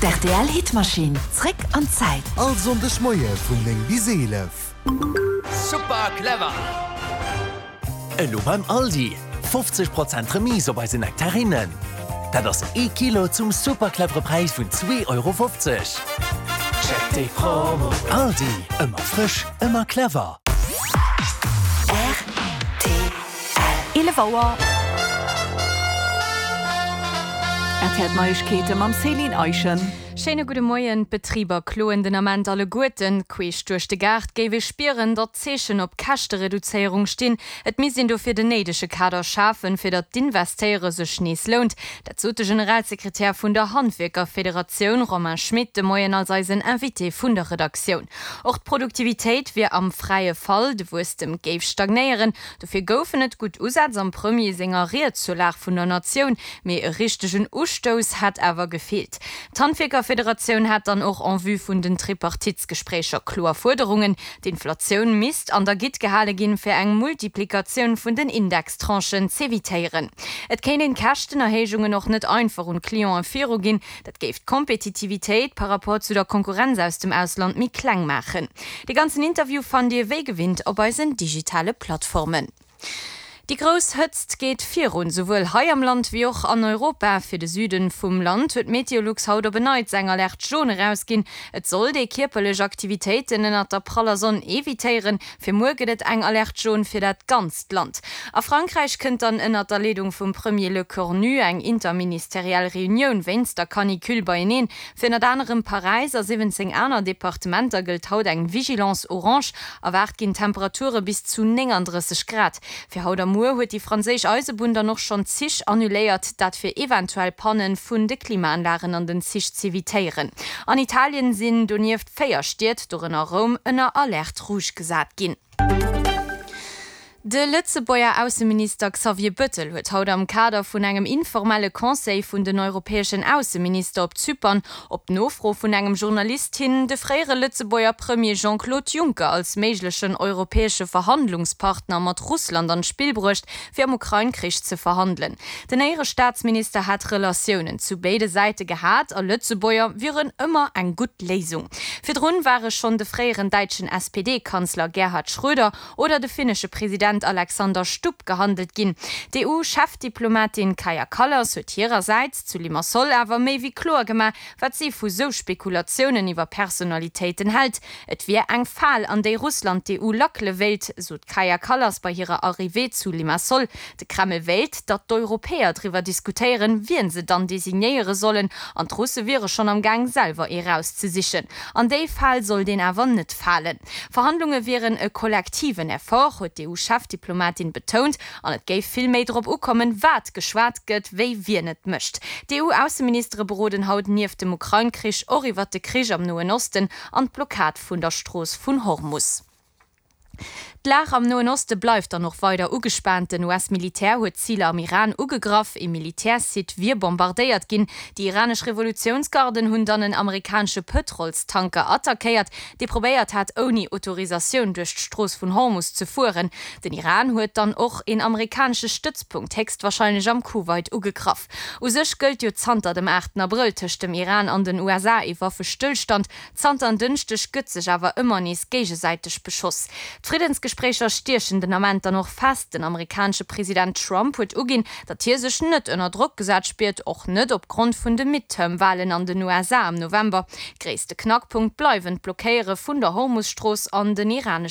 D'RTL Hitmaschinn, zréck an d'Zäit. All Sonndeg Moie vun 9 bis 11. Super clever! Elo beim Aldi, 50 Prozent Remise op eise Nektarinnen. Dat ass ee Kilo zum super clevere Präis vun 2,50 Euro. Check déi Promo! Aldi, ëmmer frësch, ëmmer clever. Rtl. 11 Auer. RTL Neiegkeete mam Céline Eischen. Schéine gudde Moien. D'Betriber kloen den Ament alleguerten. Queesch duerch de Gaart géif ee spieren, datt d'Zeechen op Käschtereduzéierung stinn. Et misst een dofir den néidege Kader schafen, fir datt d'Investéiere sech nees lount. Dat sot de Generalsekretär vun der Handwierkerfederatioun Romain Schmit de Moien als eisen Invité vun der Redaktioun. Och d'Produktivitéit wier am fräie Fall, de Wuesstem géif stagnéieren. Dofir goufen et gutt Usätz am Premier senger Ried zur Lag vun der Natioun, mee e richtegen Ustouss hätt awer gefeelt. D'Handwierkerfederatioun hat dann och en vue vun den Tripartitsgespréicher kloer Fuerderungen, D'Inflatioun misst an der Gitt gehale ginn, fir eng Multiplikatioun vun den Indextranchen z'evitéieren. Et kéint een d'Käschtenerhéijungen och net einfach un d'Clienten viruginn, Dat géif d'Kompetitivitéit par rapport zu der Konkurrenz aus dem Ausland méi kleng maachen. De ganzen Interview fannt Dir wéi gewinnt op eisen digitale Plattformen. Déi grouss Hëtzt geet virun, souwuel hei am Land wéi och an Europa. Fir de Süden vum Land huet Meteolux haut op en Neits eng Alerte jaune erausginn. Et sollt ee kierperlech Aktivitéiten ënnert der praller Sonn evitéieren. Fir muer gëtt et eng Alerte jaune fir dat ganzt Land. A Frankräich kënnt dann ënnert der Leedung vum Premier Lecornu eng interministeriell Reunioun wéinst der Canicule beieneen. Fir ënnert anerem Paräis a 17 aner Departementer gëllt haut eng Vigilance orange. Erwaart ginn Temperature bis zu 39 Grad. Fir haut a muer huet déi franséisch Eisebunn dann och schonn Zich annuléiert, dat fir eventuell Panne vun de Klimaanlagen an den Zich z'evitéieren. An Italien sinn donieft 4 Stied, dorënner Roum, ënner Alerte rouge gesat ginn. De Lëtzebuerger Ausseminister Xavier Bëttel huet haut am Kader vun engem informelle Conseil vun den europäeschen Ausseminister op Zypern op Nofro vun engem Journalist hin de fréiere Lëtzebuerger Premier Jean-Claude Juncker als méiglechen europäesche Verhandlungspartner mat Russland an d'Spill bruecht, fir am Ukrain-Krich ze verhandelen. Den Éierestaatsminister hätt Relatiounen zu béide Säite gehat a Lëtzebuerger wieren ëmmer eng gutt Léisung. Virdrun ware schonn de fréieren däitschen SPD-Kanzler Gerhard Schröder oder de finnesche President Alexander Stubb gehandelt ginn. D'EU-Chefdiplomatin Kaja Kallas huet hirersäits zu Limassol awer méi wéi kloer gemaach, wat si vu sou Spekulatiounen iwwer Personalitéiten hält. Et wier eng Fal, an déi Russland d'EU lackele wéilt, sot d'Kaja Kallas bei hirer Arrivée zu Limassol. De Kreml wéilt, datt d'Europäer driwwer diskutéieren, wien se dann designéiere sollen, an d'Russe wiere schonn am Gaang, selwer ee rauszesichen. An déi Fal sollt een awer net falen. Verhandlunge wieren e kollektiven Effort, huet d'EU-Chefdiplomatin betount, an et géif vill méi drop ukommen, wat geschwat gëtt, wéi wien et mécht. D'EU-Ausseministere beroden haut nieft dem Ukrain-Krich och iwwert de Krich am Noen Osten an d'Blockad vun der Strooss vun Hormus. D'Lag am Noen Oste bleift dann och weider ugespaant. Den US-Militär huet Ziler am Iran ugegraff, ee Militärsite wier bombardéiert ginn. Déi iranesch Revolutiounsgarden hunn dann en amerikanesche Pëtrolstanker attackéiert, dee probéiert hat, ouni Autorisatioun duerch d'Strooss vun Hormus ze fueren. Den Iran huet dann och een amerikanesche Stëtzpunkt, héchstwarscheinlech am Kuwait, ugegraff. U sech gëllt jo zanter dem 8 Abrëll tëscht dem Iran an den USA ee Waffestëllstand. Zanter en Dënschdeg gëtt sech awer ëmmer nees géigesäiteg beschoss. D'Friddensgespréicher stiechen den Ament dann och fest. Den amerikanesche President Trump huet uginn, datt hie sech net ënner Drock gesat spiert, och net opgrond vun de Midterm-Walen an den USA am November. Gréisste Knackpunkt bleiwen d'Blockéiere vun der Hormus-Strooss an den iranesche.